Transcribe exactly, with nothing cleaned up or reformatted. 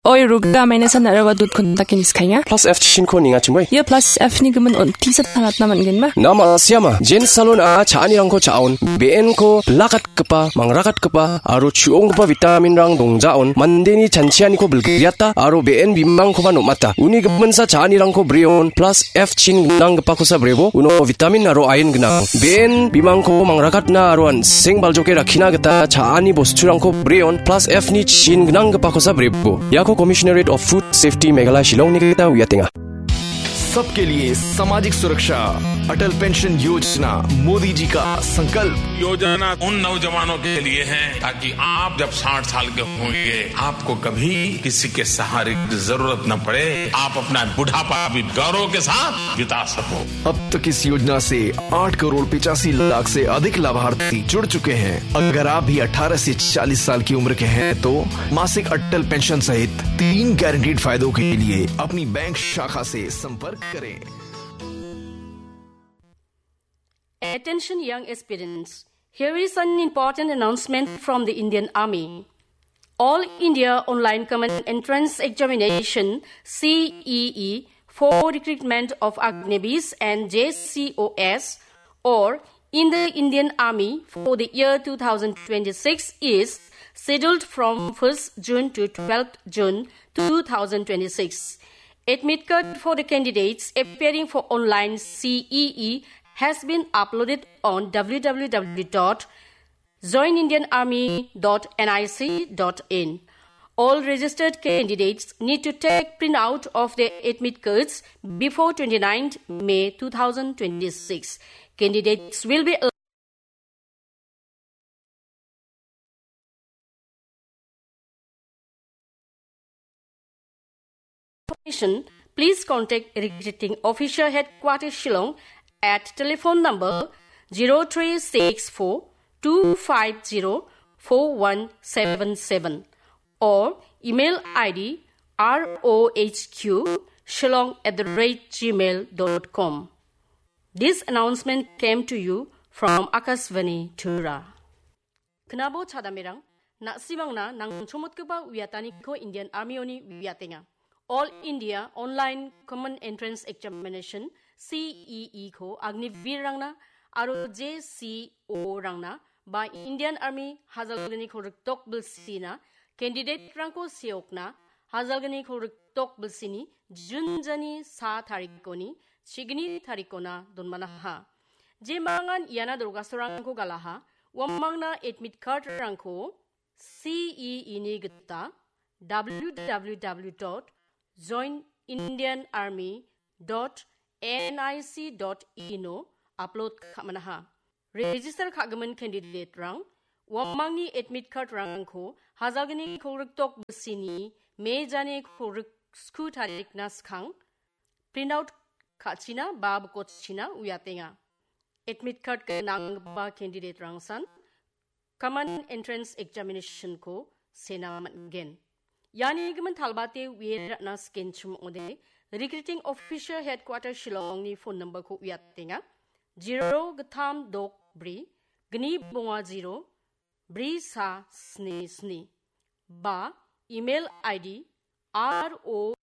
Oi, ruga maina san araba dot kun takin iskainga. Plus F chinko ninga chimoi. Ia plus F ni gimin on tisa tangatna man gen ma. Nama siama, Jen Salon a cha·anirangko cha·on, B N ko blakat gipa, mangrakatgipa aro chu·onggipa vitaminrang dongjaon, mandeni chanchianiko bilgriata aro be·en bimangkoba nom·ata. Uni giminsa cha·anirangko brion plus F chin gnanggipakosa brebo, uno vitamin aro iron gnang. Be·en bimangko mangrakatna aro an·seng baljoke rakkina gita cha·ani bosturangko brion plus F ni chin gnanggipakosa brebo. Iako Commissionerate of Food Safety Meghalaya Shillongni gita uiatenga. सबके लिए सामाजिक सुरक्षा, अटल पेंशन योजना, मोदी जी का संकल्प। योजना उन नौजवानों के लिए है, ताकि आप जब साठ साल के होंगे, आपको कभी किसी के सहारे की जरूरत न पड़े, आप अपना बुढ़ापा भी गौरव के साथ बिता सको। अब तक इस योजना से आठ करोड़ पचासी लाख से अधिक लाभार्थी जुड़ चुके हैं। अगर आप भी अठारह से चालीस साल की उम्र के हैं, तो मासिक अटल पेंशन सहित तीन गारंटीड फायदों के लिए अपनी बैंक शाखा से संपर्क करें। Attention young aspirants, here is an important announcement from the Indian Army. All India Online Common Entrance Examination, C E E, for recruitment of Agniveer and J C O S or in the Indian Army for the year two thousand twenty-six is scheduled from first June to twelfth June two thousand twenty-six. Admit card for the candidates appearing for online C E E has been uploaded on W W W dot join indian army dot N I C dot in. All registered candidates need to take printout of their admit cards before twenty-ninth May two thousand twenty-six. Candidates will be information, please contact Recruiting Officer Headquarters Shillong at telephone number zero three six four two five zero four one seven seven or email I D R O H Q shillong at the rate gmail dot com. This announcement came to you from Akashvani Tura. Knabo chadamirang, na·simangna nangchomotgipa uiataniko Indian Army-oni uiatenga. All India Online Common Entrance Examination, C E E ko Agniveer-rangna aro J C O-rangna ba Indian Army hajalgniko rikdok bilsina candidate-rangko seokna hajalgniko rikdok bilsini June jani sa tarikoni chigni tarikona donmanaha. Jemangan iana dorgasorangko galaha, uamangna admit card-rangko C E E ni gita W W W dot join indian army dot N I C dot in o upload ka·manaha. Register ka·gimin candidate-rang uamangni admit card-rangko hajalgni kolgrikdok bisini me jani kolgrik sku tarikna skang print out ka·china ba bikochina uiatenga. Admit card gnanggipa candidate-rangsan Common Entrance Examination-ko sena man·gen. Iani gimin talbate uie ra·na skenchim ong·ode, Recruiting Officer Headquarter Shillong-ni phone number-ko uiatenga. Zero gittam dok bri, gni bonga zero, bri sa sni sni. Ba email I D R O